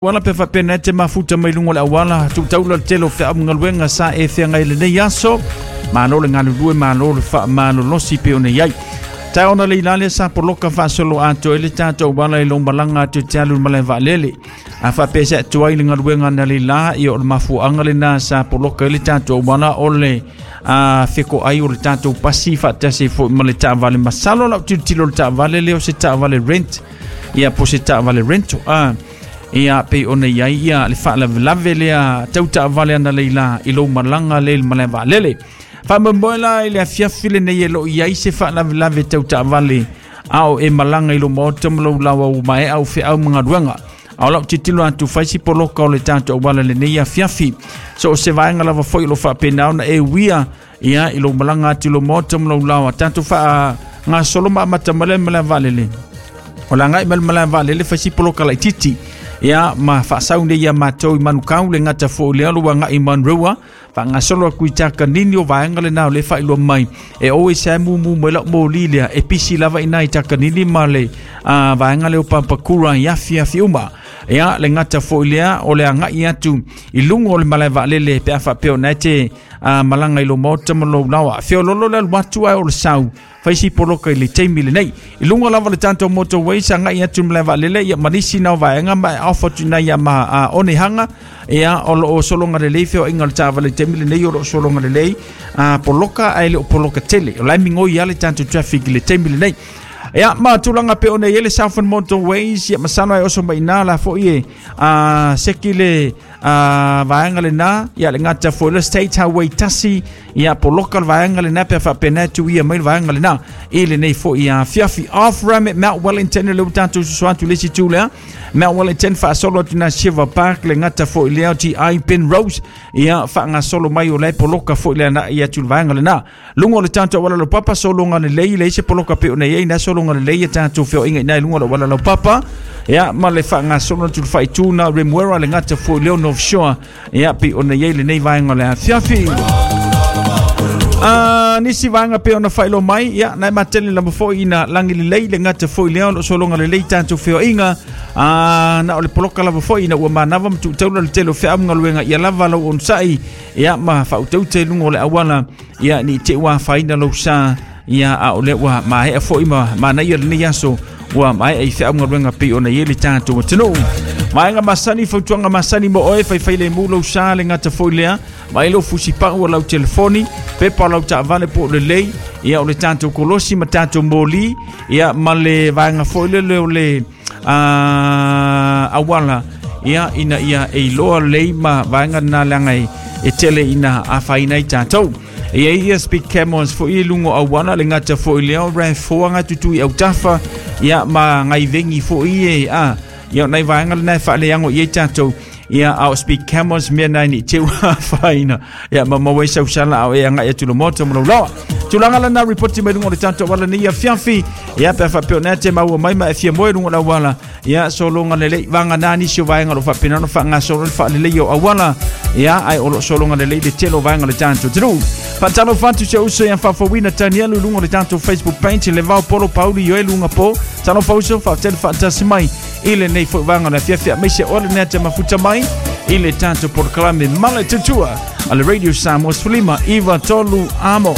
Auala pe faapena e te mafuta mai luga o le auala tuu taula le tele o feau ma galuega sa e feagai i lenei aso. Malo le galulue, malo le faamalolosi pei ona i ai. Taeao na leila lea sa poloka faasolo atoa ai le tatou auala i lou malaga atu i te alu i le malae vaalele. A faapea se atu ai le galuega na leila, ia o le mafuaaga lena sa poloka ai le tatou auala o le a fekoai o le tatou pasi faatasi foi ma le taavale. Masalo lau tilotilo i le taavale lea o se taavale rent, ia po o se taavale rental. A Ia, pei ona i ai ia le faalavelave lea tau taavale analeila i lou malaga lea i le malae vaalele. Faamoemoe la i le afiafi lenei e lo o i ai se faalavelave tau taavale a o e malaga i lou maota ma lou laoa ua maea au feau ma galuega. A o lau tilotilo atu fai si poloka o le tatou auala i lenei afiafi. So o se vaega lava foi o lo o faapena ona e uia ia i lou malaga atu i lou maota ma lou laoa tatou faagasolo ma amata mai le malae vaalele. O le agai mai le malae vaalele fai si poloka laitiiti. Ia ma faasau nei ia matou i Manukau le gata foi lea lo agai i Manrua faagasolo atu i Takanini o vaega lena o le faailoa mai e oe sa mumu mai lau moli lea e pisi lava ina i Takanini ma le vaega lea o Papakura i afiafi uma. Ia le gata foi lea o le agai atu i luga o le malae vaalele pe a faapea ona e te malaga i lou maota ma lou laoa. Feololo le alu atu ae o le sau fai si poloka i le taimi lenei. I luga lava le tatou motorway sa agai atu i le malae vaalele ia ma nisi na o vaega ma e off atu i nai ma Onehunga ia o lo o sologa lelei feoaiga o le taavale i le taimi lenei o lo o sologa lelei poloka ae le o poloka tele. O la e migoi lava le tatou traffic i le taimi lenei. Ia ma tulaga pe ona i ai le Southern Motorways ia masalo e oso mai i ina la foi e seki le vaega lena ia le gata foi le State Highway 1 ia poloka le vaega lena pe faapena e tuia mai le vaega lena i lenei foi afiafi. Off ramp at Mount Wellington le ua tatou susu atu le isi itu lea Mount Wellington faasolo atu na Shiva Park le gata foi lea o TI Penrose ia faagasolo mai o la e poloka foi le agai atu le vaega lena. Luga o le tatou auala laupapa sologa lelei leai se poloka pei ona i ai na sologa lelei ia tatou feoaiga i ina i luga o le auala laupapa ia ma le faagasolo atu le faaitu na Remuera le gata foi lea o North Shore ia pei ona i ai lenei vaega o le afiafi. Nisi vaega pei ona faailoa mai ia na e matele lava foi ina lagi lelei le gata foi lea o lo o sologa lelei tatou feoaiga na o le poloka lava foi ina ua manava ma tuu taula le tele o feau ma galuega ia lava lau onosai ia ma faautaute i luga o le auala ia ni te ua afaina lou sa ia a o lea ua maea foi ma manaia lenei aso ua maea i feau galuega pei ona i ai le tatou atunuu. Vaega masani, fautuaga masani mo oe, faifai lemu lou sa le gata foi lea, vaai lou fusipau o lau telefoni, pepa o lau taavale po o lelei, ia o le tatou kolosi ma tatou moli, ia ma le vaega foi lele o le auala, ia ina ia e iloa lelei ma vaega na leaga e tele ina afaina ai tatou. E i ai ia speed cameras foi i luga o auala, le gata foi lea o RAV4 nga tutu i autafa, ia ma ngai vengi foi e a ia o nai vaega lena e faaleago i ai tatou ia a o speed cameras mea nai ni te ua afaina ia ma maua ai sau sala a o e agai atu i le maota ma lou laoa. Tulaga lena ripoti mai luga o le tatou auala nei afiafi ia pe a faapea o nea te maua mai ma e fia moe luga o le auala ia sologa lelei vagana nisi o vaega o lo o faapena ona faagasolo le faaleleia o auala ia ae o lo o sologa lelei le tele o vaega o le tatou atunuu. Faatalofa atu si ou uso ia Faafouina Tanielu i luga o le tatou Facebook page le Vao Polo Pauli Ioe Luga Po. Talofa uso, faafetai le faatasi mai i lenei foi vaega o le afiafi aemaise o le nea te mafuta mai i le tatou polokalame Mala Tutua a le Radio Samoa 15 93 Amo.